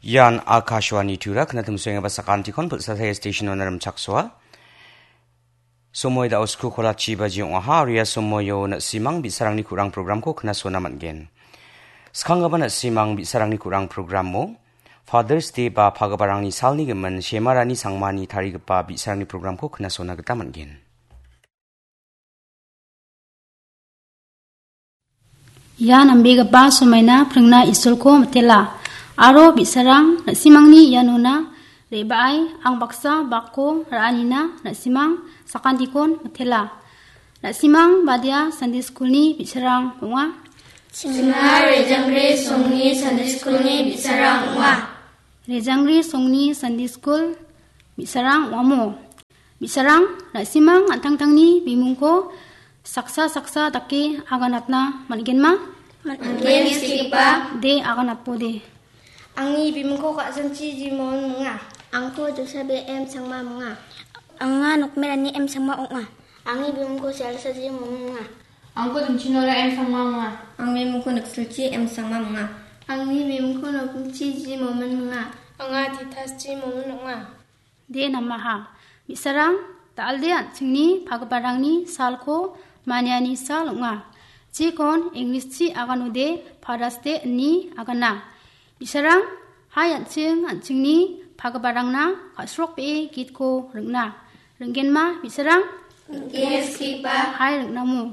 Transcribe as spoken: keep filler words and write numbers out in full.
Ian Akashvani Tura, knatim suengaba sakantikon pulsa saya station ona rimchaksoa. Somoi da usku kola chi baji ong·aha, aria somoio na·simang bi·sarangni kurang programko knasona man·gen. Skanggipa na·simang bi·sarangni kurang programo Father's Day ba pagiparangni salni gimin Shemarani Sangmani tarigipa bi·sarangni programko knasona gita man·gen. Ia nambegipa somaina pringna Isolko mitela, aro bi·sarang na·simangni ianona re·baai ang baksa bakko ra·anina na·simang sakantikon mitela. Na·simang badia Sunday Schoolni bi·sarang ong·a. Chingna Rejangri Songni Sunday Schoolni bi·sarang ong·a. Rejangri Songni Sunday School bi·sarang ong·amo. Bi·sarang, na·simang an·tangtangni bimungko saksa saksa dake aganatna man·genma? Man·gen, skipa. De, aganatbode. Angni bimungko Ka·sanchi Jimon munga. Angko Josabe M Sangma munga. Anga Nokmerani M Sangma ong·a. Angni bimungko Salsaji Momin munga. Angko Dimchinora M Sangma munga. Angni bimungko Niksilchi M Sangma munga. Angni bimungko Noknichi Ji Momin munga. Anga Titaschi Momin ong·a. De namaha. Bi·sarang, dal·de an·chingni pagiparangni salko maniani sal ong·a. Jikon Englishchi aganode Father's Day ine agana. Bi·sarang, hai an·ching an·chingni pagiparangna ka·srokbee gitko ring·na. Ring·genma bi·sarang? Ring·gen, skipa. Hai ring·namo.